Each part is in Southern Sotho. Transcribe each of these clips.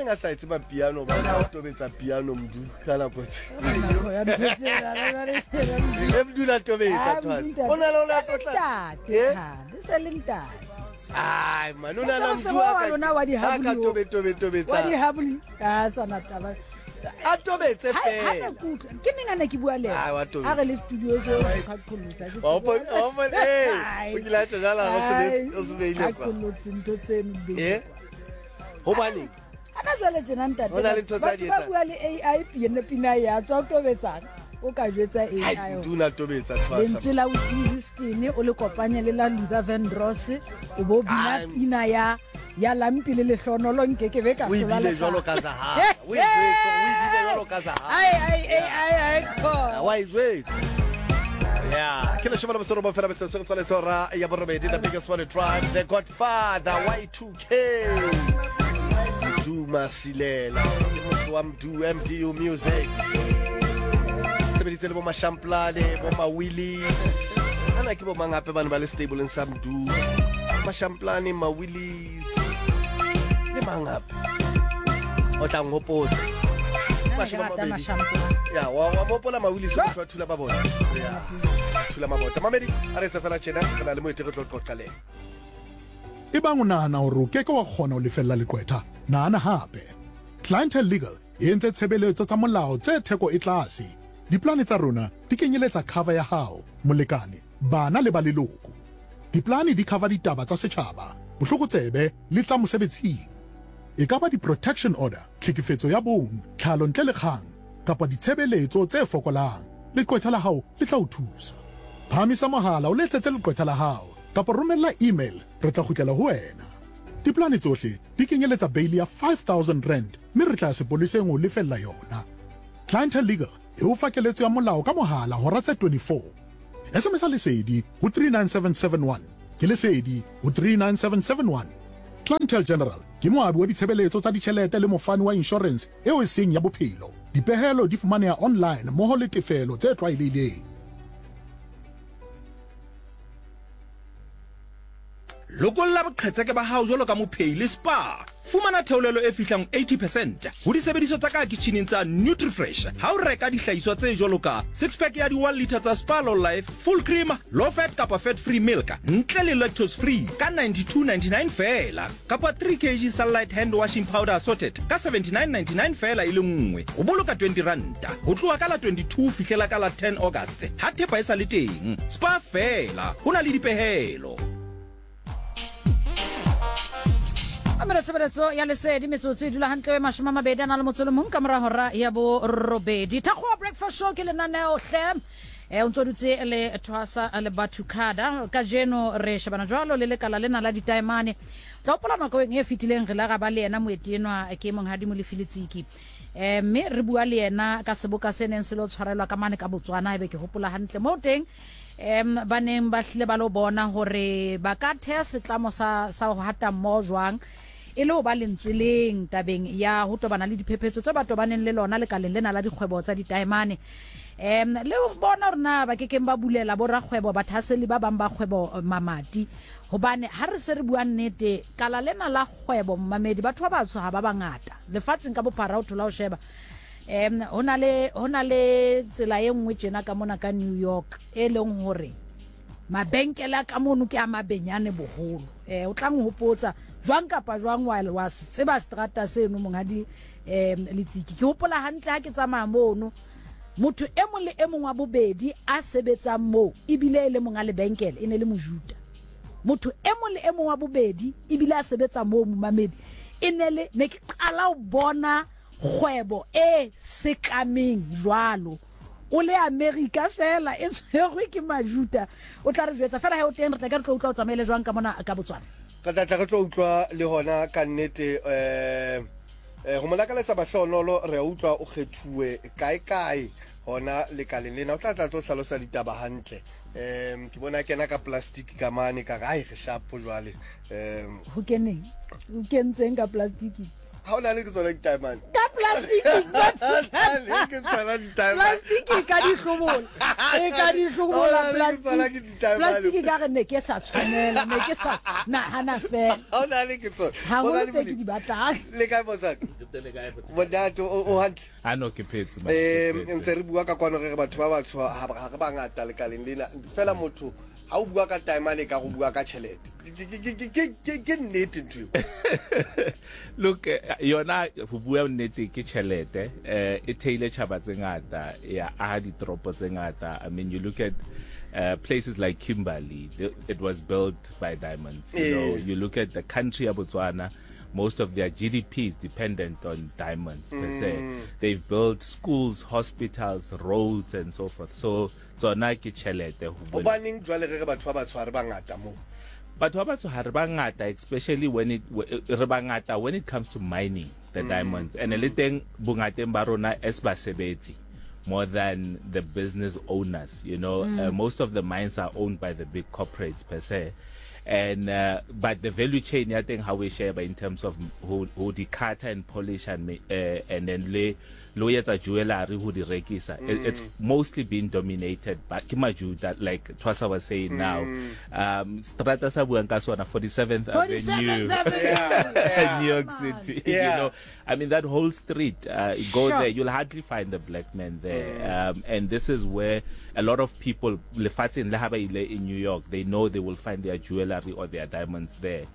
Hobaneng a sa etse mapiano ba a tobetsa piano Mdu ka nako tse. Nako ya ntho tsena, re ba re sheba Mdu. E Mdu na tobetsa Ah, thwane. Mdu ntate. O na le o na Se le tlotla. ntate, Eh? kgale, se le ntate. Ai man o na na Mosebetsi Mdu a wa ka lona wa a ka dihaboli o. tobe tobe Wa tobetsa. dihaboli, a sa na taba. A tobetse Ha- ha fela. ne ke utlwa, ke neng a ne ke bua le Ai, wa ena? tobetsa. A re le studio seo o qhaqhollotsa, ke Wa hopola- wa hopola- eh, Ai. o kile a tjho jwalo, o se be- Ai, o se beile kwa. qhaqhollotse ntho tseno di beile Eh? kwa. Hobaneng? Ana jwale tjena ntate, Ho na le ntho tsa batho di ba etsang. bua le AI pina pina ya tswa o tobetsang. O ka jwetsa Hai, AI hore Mdu na tobetsa thwasa. lentswe la Whitney Houston o le kopanye le la Luther Vandross o bo bina Ai. pina ya ya lampi le lehlonolo nke ke be ka O e hlola bile le jwalo ka. ka Zahara. O e jwetse, o e bile jwalo ka Zahara. Ai ai ai ai ai ko. Wa e jwetse. Yeah, ke leshome le boserobong fela metsotso e tswaletse hora ya borobedi, the biggest one drive, the Godfather Y2K. Duma Silela, ke motho wa Mdu MDU Music. Sebeditse le bo Mashamplane, bo Mawili. Ana ke bo mang hape bane ba le stableng sa Mdu. Mashamplane, Mawillies. Le mang hape? O tla nhopotsa. Mashome a mabedi. Ya, wa wa mopola Mawillies motho wa Thula Mabota. Ya. Thula Mabota. Mamedi, a re etse fela tjena, re na le moeti re tlo qoqa le yena. Ebang o nahana hore o ke ke wa kgona ho lefella leqwetha, nahana hape. Clientele Legal e entse tshebeletso tsa molao tse theko e tlase. Diplane tsa rona di kenyeletsa cover ya hao, molekane, bana le ba leloko. Diplane di cover ditaba tsa setjhaba, bohlokotsebe le tsa mosebetsing. E ka ba di-protection order, tlhekefetso ya bong, tlhalo ntle le kgang, kapa ditshebeletso tse fokolang, leqwetha la hao le tla o thusa. Phahamisa mohala o letsetse leqwetha la hao kapa romella email re tla kgutlela ho wena. Diplane tsohle di kenyeletsa beili ya R5000 mme re tla ya sepoleseng ho o lefella yona. Clientele Legal e o fa keletso ya molao ka mohala hora tse 24. SMS-a Lesedi ho 39771. Ke Lesedi ho 39771. Clientele General ke moabi wa ditshebeletso tsa ditjhelete le mofani wa inshorense eo e seng ya bophelo. Dipehelo di fumaneha online mmoho le tefelo tse tlwaelehileng. Lokolla boqhetseke ba hao jwalo ka mophehi le Spar. Fumana theolelo e fihlang 80 percent ho disebediswa tsa ka kitjhining tsa Nutrifresh ha o reka dihlahiswa tse jwalo ka six pack ya di one litre tsa Spar Low Life, full cream, low fat kapa fat free milk ntle le lactose free ka 92.99 feela kapa 3 kg Sunlight hand washing powder assorted ka 79.99 feela e le nngwe. O boloka 20 ranta ho tloha ka la 22 ho fihlela ka la 10 August ha thepa e sa le teng. Spar feela ho na le dipehelo. Amela tshebeletso ya lesedi metsotso e dula hantle 20 a na le motso le mong ka mora hora ya borobedi. Thakgowa Breakfast Show ke lenaneo hle. E, o ntse o dutse le Thwasa le Bathukhada. Kajeno re shebana jwalo le lekala lena la ditaemane. Tla hopola nakong e fetileng re la ra ba le yena moeti enwa ke monghadi Molefi Letsiki. E, mme re bua le yena ka seboka se neng se lo tshwarelwa ka mane ka Botswana ebe ke hopola hantle moo teng um ba neng ba hlile ba lo bona hore ba ka theha setlamo sa, sa ho hata mmoho jwang e le ho ba lentsweleng tabeng ya ho tobana le diphephetso tse ba tobaneng le lona lekaleng lena la dikgwebo tsa ditaemane um le ho bona hore na ba kekeng ba bulela borakgwebo bathaseli ba bang ba kgwebo mamati hobane ha re se re bua nnete kala lena la kgwebo mmamedi batho ba batsho ha ba bangata lefatsheng ka bophara o thola o sheba um ho na le ho na le tsela e nngwe tjena ka mona ka New York e leng hore mabenkele a ka mono ke a mabenyane boholo eh o tla nhopotsa jwang kapa jwang wa wa se tseba strata seno monghadi um Letsiki ke hopola hantle ha ke tsamaya mono motho e mong le e mong wa bobedi a sebetsang moo ebile e le monga lebenkele e ne le mojuta motho e mong le e mong wa bobedi ebile a sebetsa moo momamedi e ne le ne ke qala ho bona Kgwebo e sekameng jwalo. O le Amerika feela e tshwerwe ke Majuta. O tla re jwetsa feela he o teng, re tla ke re tlo utlwa o tsamaile jwang ka mona ka Botswana. Re tla tla re tlo utlwa le hona ka nnete um ho mo lakaletsa mahlohonolo. Re a utlwa o kgethuwe kae kae hona lekaleng lena. O tla tla tlo hlalosa ditaba hantle. Um ke bona a kena ka plastic ka mane ka re ai re shapo jwale. Um Ho keneng? O kentseng ka plastic? Ha o nahane ke tsona ditaemane? Ka plastic ke tsona ditaemane. Plastic e ka di hlobola. E ka di hlobola plastic. Plastic ka re ne ke sa tshwanela, ne ke sa nahana fela. Ha o nahane ke tsona. Haholo tse ke di batlang. Le kae Mosaka? Monate o hantle. A no ke phetse man. Eh ntse re bua ka kwano re re batho ba batsho ha re bangata lekaleng lena. Fela motho ha o bua ka taemane ka go bua ka tjhelete. Ke nnete ntho eo. Look eh, yona ho bua nnete ke tjhelete eh e theile tjhaba tse ngata ya aha ditoropo tse ngata. I mean you look at places like Kimberley, it was built by diamonds. You know, you look at the country of Botswana, most of their GDP is dependent on diamonds per se. Mm. They've built schools, hospitals, roads and so forth. So tsona ke tjhelete ho Hobaneng jwale re re batho ba batsho ha re bangata mo? Batho ba batsho ha re bangata especially when it re bangata when it comes to mining the mm. diamonds and le teng bongateng ba rona as basebetsi more than the business owners you know mm. Most of the mines are owned by the big corporates per se and but the value chain ya teng ha o e sheba in terms of ho ho di cutter and polish and and then le le ho etsa jewelry ho di rekisa mm. it's mostly been dominated by ke majuda like Twasa was saying mm. now um strata sa buang ka sona 47th Avenue yeah, yeah. New York City yeah. you know I mean that whole street go sure. there you'll hardly find the black man there mm. And this is where a lot of people lefatsheng le ha ba ile in New York they know they will find their jewelry or their diamonds there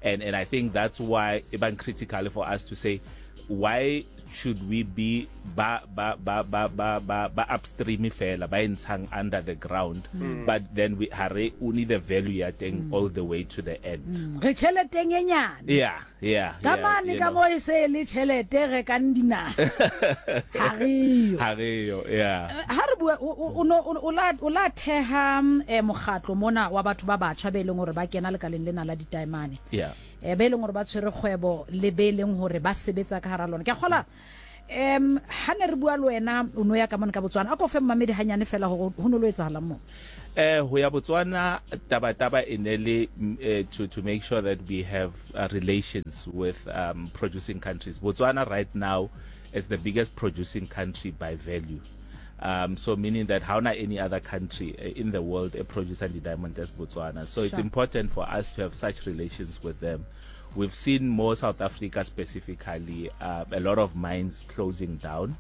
and and I think that's why e bang critical for us to say why should we be ba ba ba ba ba ba ba upstream fela ba e ntshang under the ground mm. but then we ha re only the value ya teng mm. all the way to the end mm. re tšheleteng e nyane yeah yeah ka mane ka mo e se le tšhelete re kang dinaga ga re yo ga re yo yeah ha re bua o no o la o la theha eh, mokgatlo mona wa batho ba batjha be leng hore ba kena lekaleng lena la ditaemane yeah eh, be leng hore ba tshwere kgwebo le be leng hore ba sebetsa ka hara lona ke kgola um ha ne re bua le wena o no ya ka mone ka Botswana a ko fe mmamedi hanyane fela hore ho no lo etsahalang moo Eh ho ya Botswana taba taba e ne le eh, to make sure that we have relations with producing countries. Botswana right now is the biggest producing country by value. So meaning that ha hona any other country in the world e producing di-diamond as Botswana. So it's important for us to have such relations with them. We've seen more South Africa specifically, a lot of mines closing down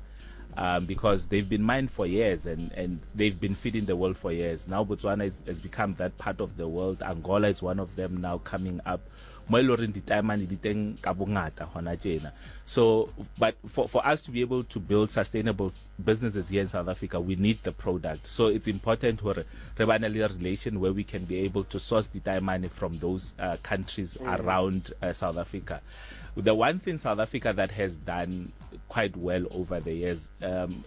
because they've been mined for years and they've been feeding the world for years. Now Botswana has become that part of the world. Angola is one of them now coming up. Mo e le horeng ditaemane di teng ka bongata hona tjena. So, but for us to be able to build sustainable businesses here in South Africa, we need the product. So it's important hore re bane le relation where we can be able to source ditaemane from those countries around South Africa. The one thing South Africa that has done quite well over the years,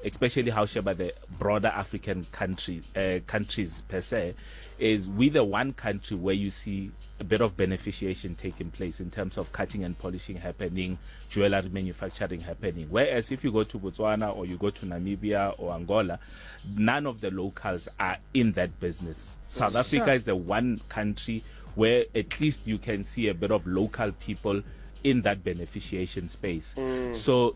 especially how sheba the broader African countries per se, is we the one country where you see a bit of beneficiation taking place in terms of cutting and polishing happening, jewelry manufacturing happening. Whereas if you go to Botswana or you go to Namibia or Angola, none of the locals are in that business. South Africa is the one country where at least you can see a bit of local people in that beneficiation space. So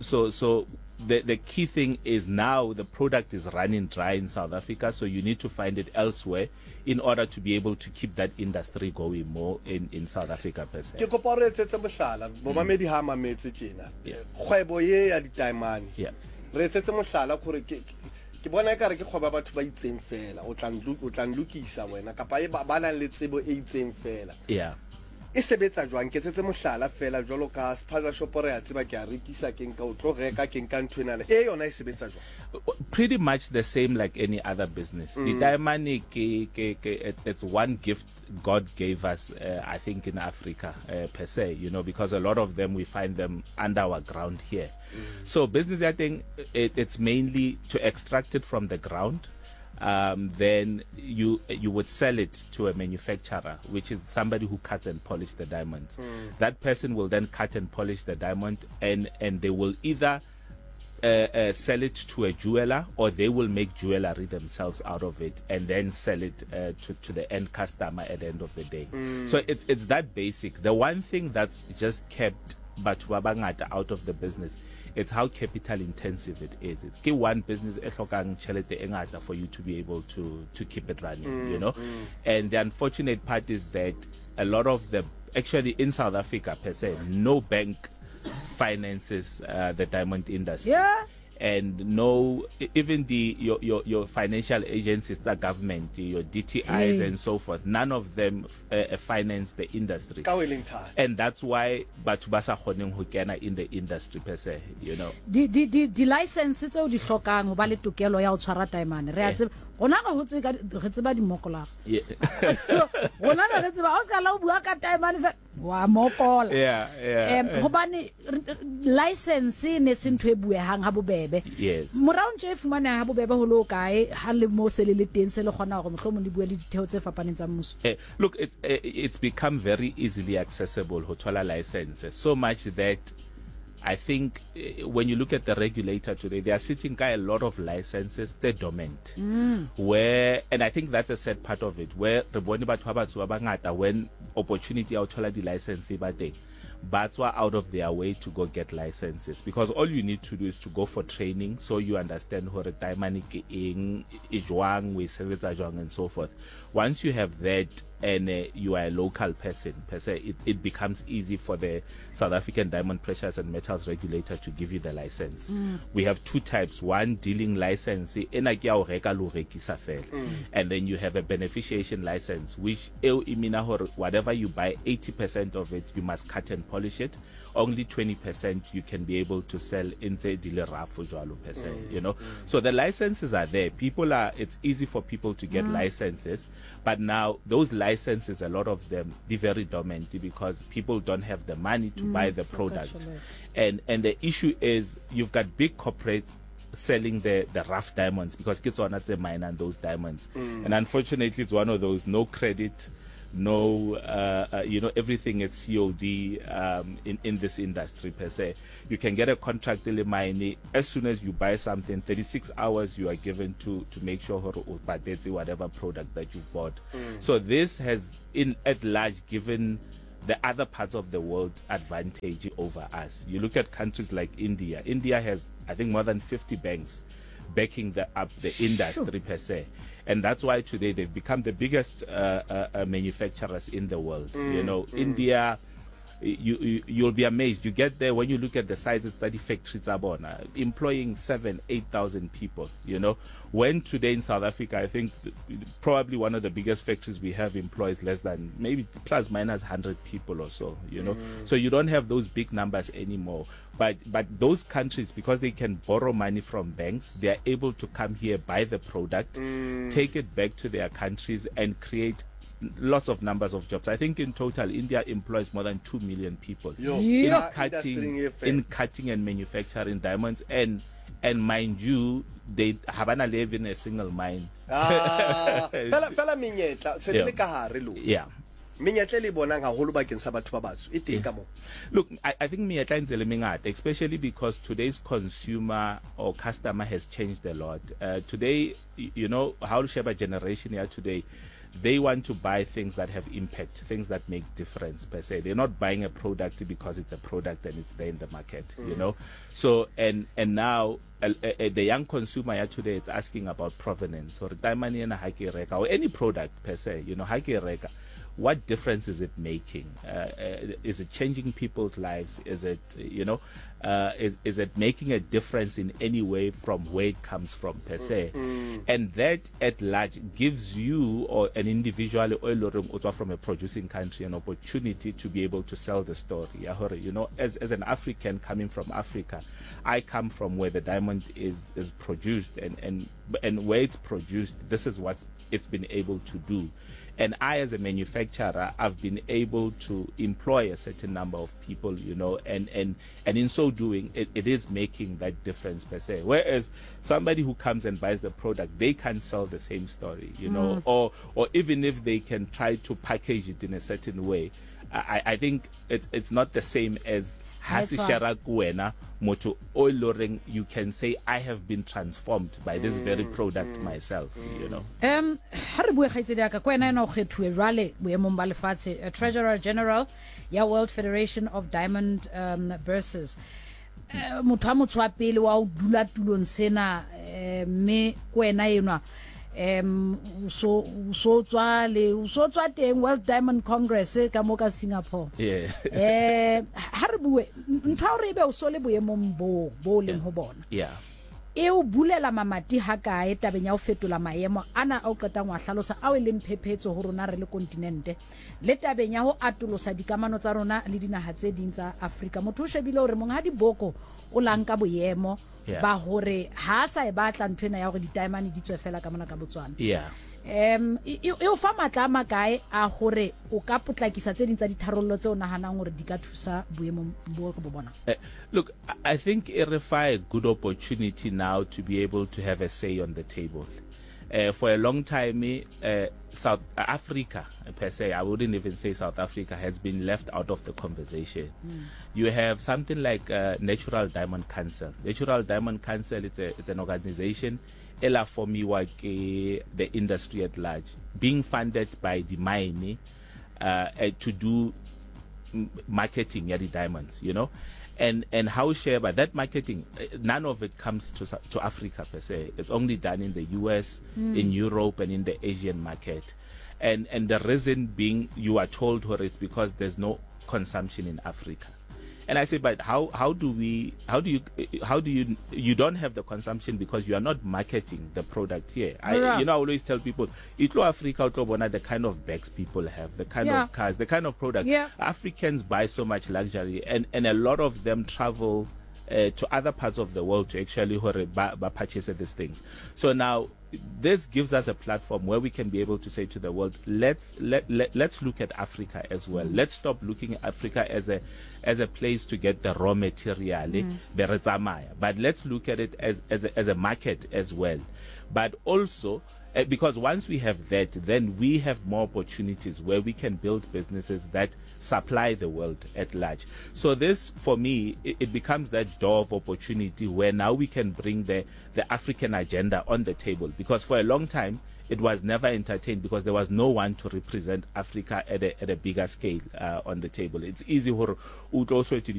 the key thing is now the product is running dry in South Africa, so you need to find it elsewhere in order to be able to keep that industry going more in South Africa per se. Ke kopa o re etsetse mohlala, momamedi ha a mametse tjena, kgwebo ye ya ditaemane, re etsetse mohlala gore ke ke bona ekare ke kgwebo ya batho ba itseng fela, o tla o tla nlokisa wena kapa e ba nang le tsebo e itseng fela. E sebetsa jwang? Nketsetse mohlala fela jwalo ka spaza shop re a tseba ke a rekisa ke nka o tlo reka ke nka ntho enana e yona e sebetsa jwang? Pretty much the same like any other business. Ditaemane ke ke ke it's one gift God gave us I think in Africa per se, you know, because a lot of them we find them under our ground here. So business ya teng it's mainly to extract it from the ground. Then you would sell it to a manufacturer, which is somebody who cuts and polishes the diamonds. That person will then cut and polish the diamond, and they will either sell it to a jeweler or they will make jewelry themselves out of it and then sell it to the end customer at the end of the day. So it's that basic. The one thing that's just kept batho ba bangata out of the business, it's how capital intensive it is. It's ke one business e hlokang tjhelete e ngata for you to be able to keep it running, you know. And the unfortunate part is that a lot of the, actually in South Africa per se, no bank finances uh, the diamond industry. Yeah. And no, even the your, your, your financial agencies, the government, your DTIs hey. and so forth, none of them uh, uh, finance the industry. Ka o e leng thata. And that's why batho ba sa kgoneng ho kena in the industry per se, you know. Di di di di license tseo di hlokang ho ba le tokelo ya ho tshwara taemane. Re a eh. tseba rona re hotse ka re tseba dimokola. Rona re tseba ha o qala o bua ka taemane fe wa mokola. Yeah, yeah. Um hobane license e ne se ntho e buehang ha bobebe. Yes. Morao ntse e fumaneha ha bobebe ho le ho kae ha le mo se le le teng se le kgona hore mohlomong le bue le ditheo tse fapaneng tsa mmuso. Eh, look, it's, eh, it's become very easily accessible ho thola license, so much that I think eh, when you look at the regulator today, they are sitting ka a lot of licenses tse dormant. Mm. Where, and I think that's a sad part of it, where re bone batho ba batsho ba bangata when opportunity ya ho thola di-license e ba teng, ba tswa out of their way to go get licenses because all you need to do is to go for training so you understand hore taemane ke eng, e jwang, o e sebetsa jwang and so forth. Once you have that and uh, you are a local person per se, it, it becomes easy for the South African Diamond Precious and Metals Regulator to give you the license. Mm. We have two types, one dealing license, ena ke ya ho reka le ho rekisa fela. Mm. And then you have a beneficiation license, which eo e meana hore whatever you buy, 80% of it you must cut and polish it. Only 20% you can be able to sell e ntse di le rough jwalo per se, mm. you know. Mm. So the licenses are there. People are, it's easy for people to get mm. licenses, but now those licenses, a lot of them, they very dormant because people don't have the money to mm, buy the product. And, and the issue is you've got big corporates selling the, the rough diamonds because ke tsona tse minang those diamonds. Mm. And unfortunately, it's one of those no credit, no, uh, uh, you know, everything is COD um, in, in this industry per se. You can get a contract le mine as soon as you buy something, 36 hours you are given to, to make sure hore o patetse whatever product that you bought. Mm. So this has, in at large, given the other parts of the world advantage over us. You look at countries like India. India has, I think, more than 50 banks backing the, up the industry per se. And that's why today they've become the biggest uh, uh, uh, manufacturers in the world. Mm, you know, mm. India, you, you, you'll be amazed. You get there when you look at the sizes tsa di-factory tsa bona, employing 7, 8,000 people, you know. When today in South Africa, I think probably one of the biggest factories we have employs less than maybe plus minus 100 people or so, you know. Mm. So you don't have those big numbers anymore. But, but those countries, because they can borrow money from banks, they are able to come here, buy the product, mm. take it back to their countries and create lots of numbers of jobs. I think in total, India employs more than 2 million people Yo, in, yeah. cutting, in cutting and manufacturing diamonds. And, and mind you, they haven't live in a single mine. Ah, fela fela menyetla se le ka hare lo. Yeah. Menyetla e le bonang haholo bakeng sa batho ba batsho e teng ka mo. Look, I, I think menyetla e ntse le mengata, especially because today's consumer or customer has changed a lot. Uh, today, you know, how sheba generation ya today, they want to buy things that have impact, things that make difference per se. They're not buying a product because it's a product and it's there in the market, mm. you know. So and and now uh, uh, the young consumer ya today is asking about provenance or diamond ena ha ke reka or any product per se, you know, ha ke reka what difference is it making? Uh, uh, is it changing people's lives? Is it, you know, uh, is, is it making a difference in any way from where it comes from per se? Mm. And that at large gives you or an individual or from a producing country an opportunity to be able to sell the story. You know, as, as an African coming from Africa, I come from where the diamond is, is produced and, and, and where it's produced, this is what it's been able to do. And I, as a manufacturer, I've been able to employ a certain number of people, you know, and, and, and in so doing, it, it is making that difference per se. Whereas somebody who comes and buys the product, they can't sell the same story, you know, mm. or, or even if they can try to package it in a certain way, I, I think it's, it's not the same as ha se shera ko wena motho o e loreng you can say I have been transformed by this very mm, product mm, myself mm. you know um ha re bue kgaitsedi ya ka ko wena ena o kgethuwe jwale boemong ba lefatshe eh, treasurer general ya world federation of diamond um, versus eh, motho wa motho wa pele wa o dula tulong sena eh, mme ko wena enwa Um o so o so tswa le o so tswa teng World Diamond Congress ka mo ka Singapore. Yeah. Eh ha re bue ntho ya hore ebe o so le boemong bo bo leng ho bona. Yeah. E o bulela mamati hakae tabeng ya ho fetola maemo ana a o qetang ho a hlalosa ao e leng phephetso ho rona re le kontinente le tabeng ya ho atolosa dikamano tsa rona le dinaha tse ding tsa Afrika? Motho o shebile hore Monghadi Boko o la nka boemo Yeah. ba hore ha a sa e batla ntho ena ya hore ditaemane di tswe fela ka mona ka Botswana. Yeah. Um e e o fa matla a makae a hore o ka potlakisa tse ding tsa ditharollo tse o nahanang hore di ka thusa boemong bo re bo bonang? Eh, look, I think e re fa a good opportunity now to be able to have a say on the table. For a long time, South Africa per se, I wouldn't even say South Africa, has been left out of the conversation. Mm. You have something like Natural Diamond Council. Natural Diamond Council, it's, a, it's an organization ela formiwa ke the industry at large, being funded by the mine to do marketing ya di-diamonds, you know. And, and how share by that marketing, none of it comes to, to Africa per se. It's only done in the US, mm. in Europe, and in the Asian market. And, and the reason being you are told her it's because there's no consumption in Africa. And I say, but how, how do we, how do you, how do you, you don't have the consumption because you are not marketing the product here. I, Yeah. you know, I always tell people, Itlo Africa, utlo bona the kind of bags people have, the kind Yeah. of cars, the kind of product. Yeah. Africans buy so much luxury and, and a lot of them travel uh, to other parts of the world to actually hore ba, ba purchase these things. So now this gives us a platform where we can be able to say to the world, let's let, let let's look at Africa as well. Mm. Let's stop looking at Africa as a as a place to get the raw material, mm. be re tsamaya. But let's look at it as as a, as a market as well. But also because once we have that, then we have more opportunities where we can build businesses that supply the world at large. So this, for me, it, it becomes that door of opportunity where now we can bring the, the African agenda on the table. Because for a long time, it was never entertained because there was no one to represent Africa at a, at a bigger scale uh, on the table. It's easy hore o tlo swetse